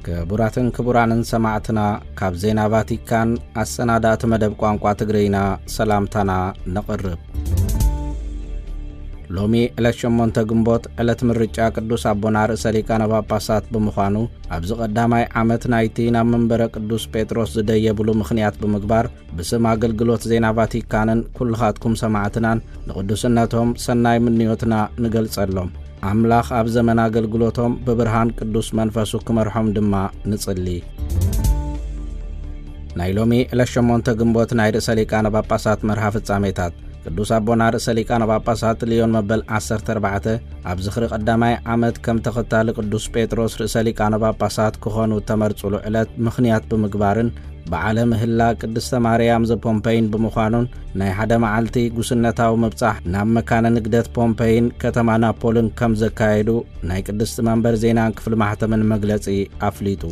ክቡራትን ክቡራንን ሰማዕትና፣ ካብ ዜና ቫቲካን ኣሰናዳእቲ መደብ ቋንቋ ትግርኛ ሰላምታና ነቕርብ። ሎሚ ዕለት ሸሞንተ ግንቦት ዕለት ምርጫ ቅዱስ ኣቦና ርእሰ ሊቃነ ጳጳሳት ብምዃኑ፣ ኣብዚ ቀዳማይ ዓመት ናይቲ ናብ መንበረ ቅዱስ ጴጥሮስ ዝደየብሉ ምኽንያት ብምግባር፣ ብስም ኣገልግሎት ዜና ቫቲካንን ኩልኻትኩም ሰማዕትናን ንቅዱስነቶም ሰናይ ምንዮትና ንገልጸሎም። ኣምላኽ ኣብ ዘመን ኣገልግሎቶም ብብርሃን ቅዱስ መንፈሱ ክመርሖም ድማ ንጽሊ። ናይ ሎሚ ዕለት ሸሞንተ ግንቦት ናይ ርእሰ ሊቃነ ጳጳሳት መርሃ ፍጻሜታት። ቅዱስ ኣቦና ርእሰ ሊቃነ ጳጳሳት ልዮን መበል ዓሰርተ ኣርባዕተ ኣብ ዝኽሪ ቀዳማይ ዓመት ከም ተኸታሊ ቅዱስ ጴጥሮስ ርእሰ ሊቃነ ጳጳሳት ክኾኑ እተመርጹሉ ዕለት ምኽንያት ብምግባርን፣ በዓለ ምህላ ቅድስተ ማርያም ዘፖምፐይን ብምዃኑን፣ ናይ ሓደ መዓልቲ ጉስነታዊ ምብጻሕ ናብ መካነ ንግደት ፖምፐይን ከተማ ናፖልን ከም ዘካየዱ ናይ ቅድስቲ መንበር ዜናን ክፍሊ ማሕተምን መግለጺ ኣፍሊጡ።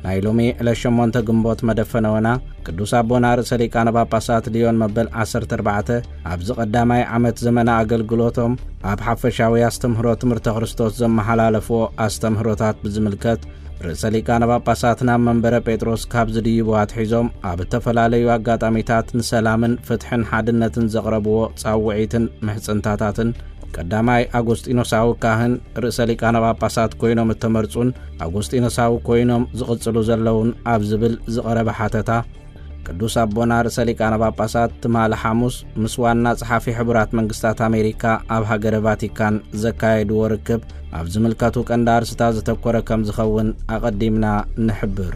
ናይ ሎሚ ዕለት ሸሞንተ ግንቦት መደፈነወና ቅዱስ ኣቦና ርእሰ ሊቃነ ጳጳሳት ልዮን መበል ዓሰርተ ኣርባዕተ ኣብዚ ቀዳማይ ዓመት ዘመነ ኣገልግሎቶም ኣብ ሓፈሻዊ ኣስተምህሮ ትምህርተ ክርስቶስ ዘመሓላለፍዎ ኣስተምህሮታት ብዝምልከት፣ ርእሰ ሊቃነ ጳጳሳት ናብ መንበረ ጴጥሮስ ካብ ዝድይቡ ኣትሒዞም ኣብ እተፈላለዩ ኣጋጣሚታት ንሰላምን ፍትሕን ሓድነትን ዘቕረብዎ ጻውዒትን ምሕጽንታታትን፣ ቀዳማይ ኣጎስጢኖሳዊ ካህን ርእሰ ሊቃነ ጳጳሳት ኮይኖም እተመርጹን ኣጎስጢኖሳዊ ኮይኖም ዝቕጽሉ ዘለውን ኣብ ዝብል ዝቐረበ ሓተታ፣ ቅዱስ ኣቦና ርእሰ ሊቃነ ጳጳሳት ትማሊ ሓሙስ ምስ ዋና ጸሓፊ ሕቡራት መንግስታት ኣሜሪካ ኣብ ሃገረ ቫቲካን ዘካየድዎ ርክብ፣ ኣብ ዝምልከቱ ቀንዲ ኣርስታት ዘተኮረ ከም ዝኸውን ኣቐዲምና ንሕብር።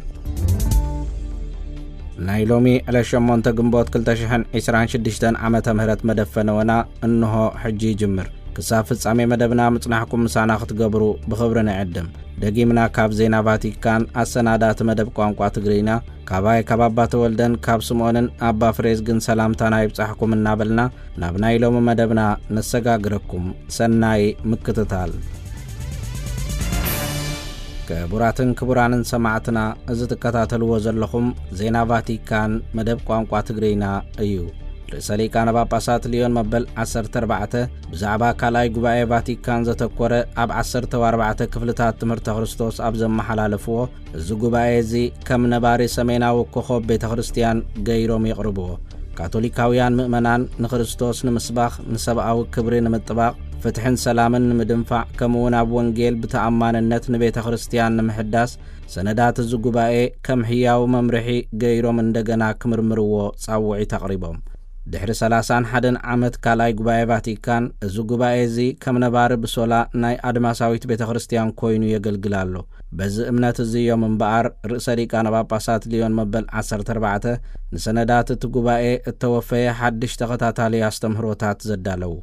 ናይ ሎሚ ዕለት ሸሞንተ ግንቦት ክልተ ሽሕን ዕስራን ሽዱሽተን ዓመተ ምህረት መደፈነወና እንሆ ሕጂ ይጅምር። ክሳብ ፍጻሜ መደብና ምጽናሕኩም ምሳና ክትገብሩ ብኽብሪ ንዕድም። ደጊምና ካብ ዜና ቫቲካን ኣሰናዳእቲ መደብ ቋንቋ ትግርኛ፣ ካባይ ካብ ኣባ ተወልደን ካብ ስምኦንን ኣባ ፍሬዝግን ሰላምታና ይብጻሕኩም እናበልና፣ ናብ ናይ ሎሚ መደብና ነሰጋግረኩም። ሰናይ ምክትታል። ክቡራትን ክቡራንን ሰማዕትና፣ እዚ ትከታተልዎ ዘለኹም ዜና ቫቲካን መደብ ቋንቋ ትግርኛ እዩ። ርእሰ ሊቃነ ጳጳሳት ልዮን መበል ዓሰርተ ኣርባዕተ ብዛዕባ ካልኣይ ጉባኤ ቫቲካን ዘተኮረ ኣብ ዓሰርተ ኣርባዕተ ክፍልታት ትምህርተ ክርስቶስ ኣብ ዘመሓላለፍዎ፣ እዚ ጉባኤ እዚ ከም ነባሪ ሰሜናዊ ኮኾብ ቤተ ክርስቲያን ገይሮም የቕርብዎ። ካቶሊካውያን ምእመናን ንክርስቶስ ንምስባኽ፣ ንሰብኣዊ ክብሪ ንምጥባቕ፣ ፍትሕን ሰላምን ንምድንፋዕ፣ ከምኡውን ኣብ ወንጌል ብተኣማንነት ንቤተ ክርስቲያን ንምሕዳስ፣ ሰነዳት እዚ ጉባኤ ከም ህያው መምርሒ ገይሮም እንደገና ክምርምርዎ ጻውዒት ኣቕሪቦም። ድሕሪ ሰላሳን ሓደን ዓመት ካልኣይ ጉባኤ ቫቲካን፣ እዚ ጉባኤ እዚ ከም ነባሪ ብሶላ ናይ ኣድማሳዊት ቤተ ክርስቲያን ኮይኑ የገልግል ኣሎ። በዚ እምነት እዚ እዮም እምበኣር ርእሰ ሊቃነ ጳጳሳት ልዮን መበል ዓሰርተ ኣርባዕተ ንሰነዳት እቲ ጉባኤ እተወፈየ ሓድሽ ተኸታታሊ ኣስተምህሮታት ዘዳለዉ።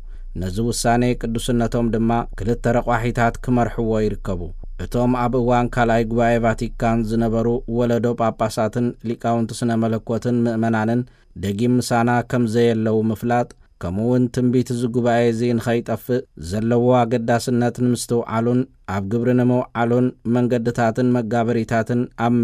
ነዚ ውሳኔ ቅዱስነቶም ድማ ክልተ ረቋሒታት ክመርሕዎ ይርከቡ። እቶም ኣብ እዋን ካልኣይ ጉባኤ ቫቲካን ዝነበሩ ወለዶ ጳጳሳትን ሊቃውንቲ ስነ መለኮትን ምእመናንን ደጊም ምሳና ከም ዘየለዉ ምፍላጥ፣ ከምኡውን ትንቢት እዚ ጉባኤ እዚ ንኸይጠፍእ ዘለዎ ኣገዳስነት ንምስትውዓሉን ኣብ ግብሪ ንምውዓሉን መንገድታትን መጋበሪታትን ኣብ